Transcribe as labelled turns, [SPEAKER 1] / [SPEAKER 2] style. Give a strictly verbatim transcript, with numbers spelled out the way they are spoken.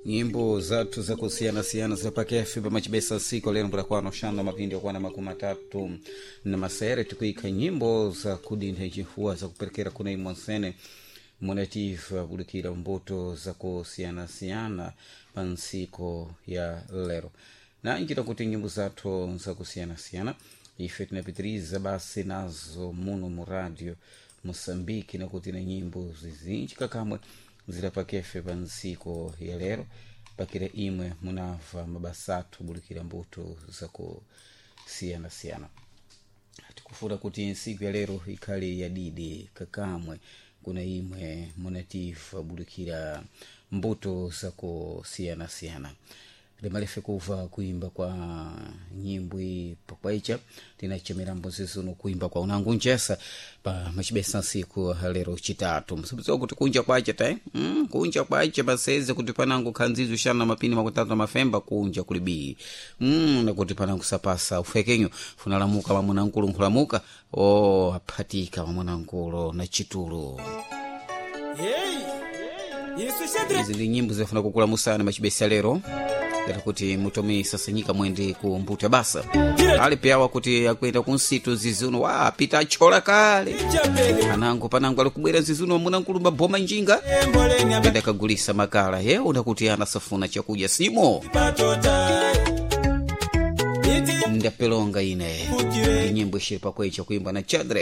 [SPEAKER 1] Nyimbo zathu zakusiyana-siyana zilapakefe pamachibesa siku lero mbulakwano xana mapindi okwana makumi atatu na masere tikuikha nyimbo zakudintha chifuwa zakuperekera kuna imwe nsene munativa kudikira mbuto zakusiyana-siyana pa ntsiko ya lero na njira kuti nyimbo zathu zakusiyana-siyana ife tinapitiriza basi nazo muno mu radio Moçambique, nakuti na nyimbo zizinji kakamwe zilapakefe pa ntsiko ya lero pakira imwe munamva mabasa athu bulikira mbuto zakusiyana-siyana. Tikufuna kuti ntsiku ya lero ikhale yadidi kakamwe kuna imwe munativa bulikira mbuto zakusiyana-siyana. Limalefe kuva kuimba kwa nyimbo iyi pakwaicha tinachemera mbuzi zino kuimba kwa unangu njesa pa machibesa nsiku lero chitatu msibuziwa kuti kunja kwacha ta mm, kunja kwacha paseze kuti panangu khanzizo xana mapini makutatu na mafemba kunja kulibii mm, nakuti panangu sapasa ufekenyo funalamuka mamunankulu nkhulamuka o oh, aphatika mamunankulu na chitulo.
[SPEAKER 2] Hey, Yesu Shadrach.
[SPEAKER 1] Izi ndi nyimbo zifuna kukula musana machibesa lero dala kuti mutomi sasanyika mwende ku mbuto ya basa ali piawa kuti akuenda ku nsitu zizuno wa apita achola kale
[SPEAKER 2] Chapele.
[SPEAKER 1] anango panango ali kubwera zizuno munankulumba boma njinga
[SPEAKER 2] Emboleni
[SPEAKER 1] enda kagulisa makala ye unakuti ana safuna chakudya simo
[SPEAKER 2] abatota. Iti
[SPEAKER 1] ndapelonga ine
[SPEAKER 2] kutire.
[SPEAKER 1] ndi nyimbo ishiri pakwecha kuimba na chadre.